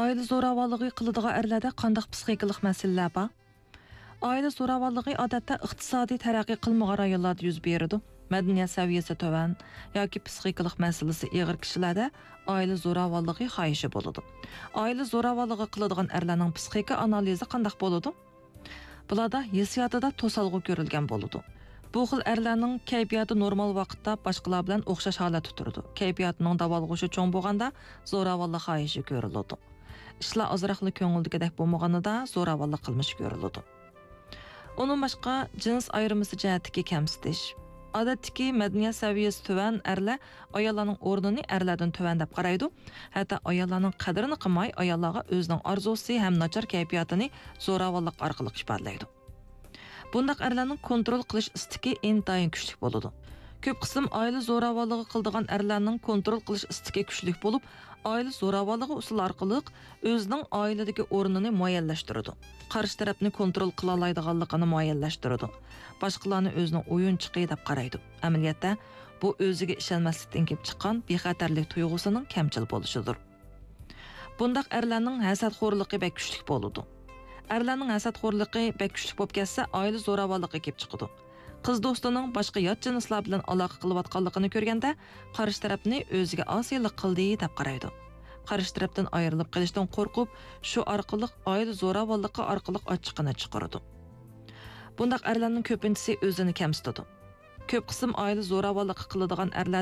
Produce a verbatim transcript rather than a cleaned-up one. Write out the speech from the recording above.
ئائىلە زوراۋانلىقى قىلىدىغان ئەرلەردە قانداق پسىخىكىلىق مەسىلىلەر بار؟ ئائىلە زوراۋانلىقى ئادەتتە ئىقتىسادىي تەرەققىي قىلمىغان رايونلاردا يۈز بېرىدۇ. مەدەنىيەت سەۋىيەسى تۆۋەن ياكى پسىخىكىلىق مەسىلىسى ئېغىر كىشىلەردە ئائىلە زوراۋانلىقى خاھىشى بولىدۇ. ئائىلە زوراۋانلىقى قىلىدىغان ئەرلەرنىڭ پسىخىكا ئانالىزى قانداق بولىدۇ؟ بۇلاردا ھېسسىياتىدا توسالغۇ كۆرۈلگەن بولىدۇ. بۇ خىل ئەرلەرنىڭ كەيپىياتى نورمال ۋاقىتتا باشقىلار بىلەن ئوخشاش ھالەتتە تۇرىدۇ. كەيپىياتىنىڭ داۋالغۇشى چوڭ بولغاندا زوراۋانلىق خاھىشى كۆرۈلىدۇ. ئىشلار ئازراقلا كۆڭۈلدىكىدەك بولمىغىنىدا زوراۋانلىق قىلمىشى كۆرۈلىدۇ. ئۇنىڭ باشقا جىنس ئايرىمىسى جەھەتتىكى كەمسىتىش. ئادەتتىكى مەدەنىيەت سەۋىيەسى تۆۋەن ئەرلەر ئاياللارنىڭ ئورنىنى ئەرلەردىن تۆۋەن دەپ قارايدۇ. ھەتتا ئاياللارنىڭ قەدرىنى قىلماي، ئاياللارغا ئۆزىنىڭ ئارزۇسى ھەم ناچار كەيپىياتىنى زوراۋانلىق ئارقىلىق ئىپادىلەيدۇ. بۇنداق ئەرلەرنىڭ كونترول قىلىش ئىستىكى ئىنتايىن كۈچلۈك بولىدۇ. كۆپ قىسىم ئائىلە زوراۋانلىقى قىلىدىغان ئەرلەرنىڭ كونترول قىلىش ئىستىكى كۈچلۈك بولۇپ، ئائىلە زوراۋانلىقى ئۇسۇلى ئارقىلىق ئۆزىنىڭ ئائىلىدىكى ئورنىنى مۇئەييەنلەشتۈرىدۇ. قارشى تەرەپنى كونترول قىلالايدىغانلىقىنى مۇئەييەنلەشتۈرىدۇ. باشقىلارنى ئۆزىنىڭ ئويۇنچۇقى دەپ قارايدۇ. ئەمەلىيەتتە، بۇ ئۆزىگە ئىشەنمەسلىكتىن كېلىپ چىققان بىخەتەرلىك تۇيغۇسىنىڭ كەمچىل بولۇشىدۇر. بۇنداق ئەرلەرنىڭ ھەسەتخورلۇقى بەك كۈچلۈك بولىدۇ. ئەرلەرنىڭ ھەسەتخورلۇقى بەك كۈچلۈك بولۇپ كەتسە، ئائىلە زوراۋانلىقى كېلىپ چىقىدۇ. قىز دوستىنىڭ باشقا يات جىنسلار بىلەن ئالاقە قىلىۋاتقانلىقىنى كۆرگەندە، قارشى تەرەپنى ئۆزىگە ئاسىيلىق قىلدى دەپ قارايدۇ. قارشى تەرەپتىن ئايرىلىپ قېلىشتىن قورقۇپ، شۇ ئارقىلىق ئائىلە زوراۋانلىقى ئارقىلىق ئاچچىقىنى چىقىرىدۇ. بۇنداق ئەرلەرنىڭ كۆپىنچىسى ئۆزىنى كەمسىتىدۇ. كۆپ قىسىم ئائىلە زوراۋانلىقى قىلىدىغان ئەرلەر